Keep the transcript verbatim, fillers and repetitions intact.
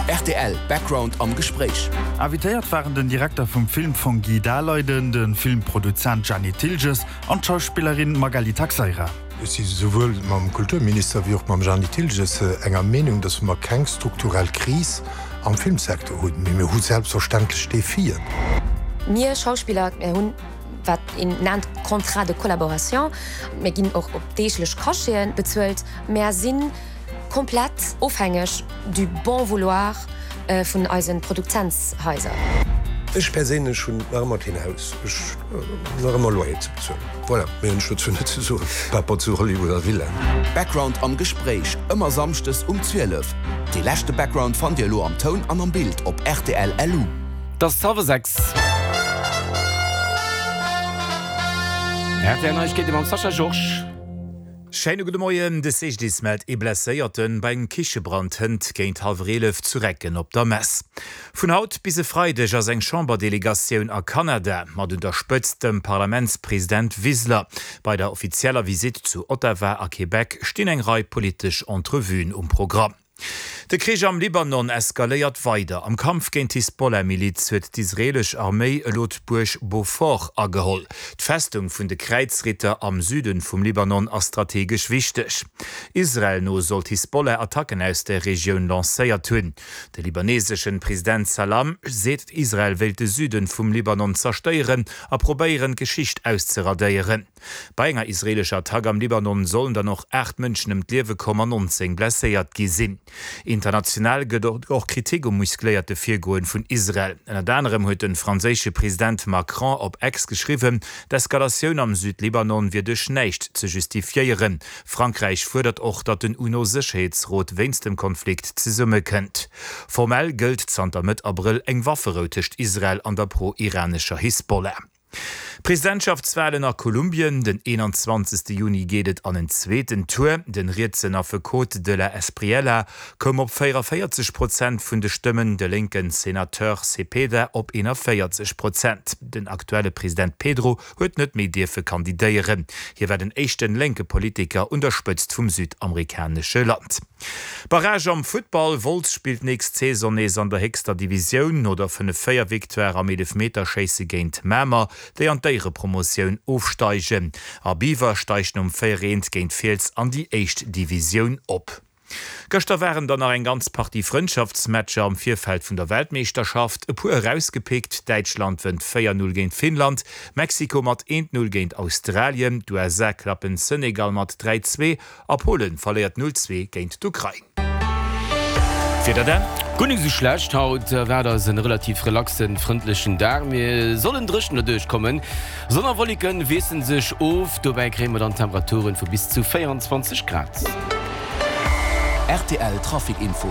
Rtl Background am Gespréich. Invitéiert waren den Direkter vum Filmfong Guy Daleiden, de Filmproduzent Jeanny Thilges an d'Schauspillerin Magali Taxeira. Ech si souwuel mam Kulturminister wéi och mam Jeanny Thilges enger Meenung, datt mer keng strukturell Kris am Filmsecteur hunn, mee mir hu selbstverständlech Defien. Mir Schauspiller, mir hunn, wat een nennt Contrat de collaboration, mir ginn och op deeglech Cacheten bezuelt, mär si komplett ofhängeg du bon vouloir vun eise Produzentshaiser. Ech perséinlech hunn nach ëmmer keen Haus, ech hunn nach ëmmer Loyer ze bezuelen. Voilà, méi hunn ech dozou net ze soen, par rapport zu Hollywood a Villaen. Background am Gespréich, ëmmer samschdes um zwielef. Dee leschte Background fannt Dir elo am Toun an am Bild op rtl LU. Et ass hallwer sechs. Rtl Neiegkeete mam Sascha Georges. Schéine gudde Moien, De C G D I S mellt ee Blesséierten bei engem Kichebrand hënt géint hallwer eelef zu Recken op der Mess. Vun haut bis e Freideg ass eng Chamberdelegatioun a Kanada, mat un der Spëtzt dem Parlamentspresident Wiseler. Bei der offizieller Visitt zu Ottawa a Québec stinn eng Rei politesch Entrevuen um Programm. De Krich am Libanon eskaléiert weider. Am Kampf géint d'Hisbollah-Miliz huet d'israeelesch Arméi elo d'Buerg Beaufort ageholl. D'Festung vun de Kräizritter am Süde vum Libanon ass strategesch wichteg. Israel no soll d'Hisbollah Attacken aus der Regioun lancéiert hunn. De libaneesesche President Salam seet, Israel wéilt de Süde vum Libanon zerstéieren a probéieren, d'Geschicht auszeradéieren. Bei enger israeelescher Attack am Libanon sollen dann och aacht Mënschen ëm d'Liewe komm an nonzéng blesséiert gi sinn. International gëtt och Kritik um muscléierte Virgoen vun Israel. Ënnert anerem huet de franséische President Macron op X geschriwwen, d'Eskalatioun am Südlibanon wier duerch näischt ze justifiéieren. Frankräich fuerdert och, datt den UNO-Sécherheetsrot wéinst dem Konflikt zesummekënnt. Formell gëllt zanter Mëtt Abrëll eng Wafferou tëscht Israel an der pro-iranescher Hisbollah. Presidentschaftswalen a Kolumbien, Den eenanzwanzegste Juni geet et an en zweeten Tour. De rietsen Affekot de la Espriella koum op véieranvéierzeg Prozent vun de Stëmmen, de lénke Senateur Cepeda op eenanvéierzeg Prozent. Den aktuelle President Petro huet net méi dierfe kandidéieren. Hie war den éischte lénke Politiker un der Spëtzt vum südamerikanesche Land. Barrage am Futtball, Wolz spillt nächst Saison nees an der héchster Divisioun. No der fënnef-véier Victoire am Eelefmeterschéisse géint Mamer, déi an d'Éierepromotioun ofsteigen, a Biwer steigt nom véier-eent géint Fiels an déi éischt Divisioun op. Gëschter waren dann nach eng ganz Partie Frëndschaftsmatcher am Virfeld vun der Weltmeeschterschaft. E puer erausgepickt, Däitschland wënnt véier null géint Finnland, Mexiko mat eent null géint Australien, d'U S A klappen Senegal mat dräi zwee a Polen verléiert null zwee géint d'Ukrain. Wieder dann. Guer net esou schlecht, haut erwaart eis en relativ relaxen, frëndlechen Dag. Mir sollen dréchen derduerch kommen. Sonn a Wolleken wiesselen sech of, dobäi kréie mer dann Temperaturen vu bis zu véierundzwanzeg Grad. R T L Trafic Info.